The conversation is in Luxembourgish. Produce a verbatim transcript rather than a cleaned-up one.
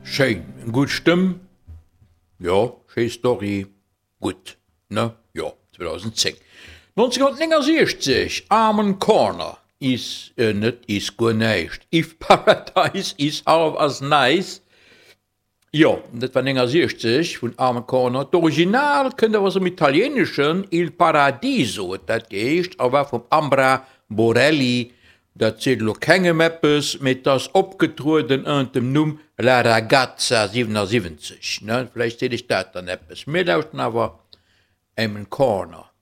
Schéin, eng gutt Stëmm, jo, schéi Story, gutt, ne? Jo, zweedausendzéng. nonzénhunnertnéngasiechzeg, Amen Corner is, net is guer näischt, If Paradise is half as nice. Jo, dat war néngasiechzeg vun Amen Corner. D'Original kënnt awer aus dem Italieeneschen, Il Paradiso huet dat geheescht a war vum Ambra Borelli. Dat seet elo kengem eppes, mee 't ass opgetrueden ënnert dem Numm La Ragazza siwenasiwwenzeg, ne? Vläicht seet iech dat dann eppes. Mir lauschten awer Amen Corner.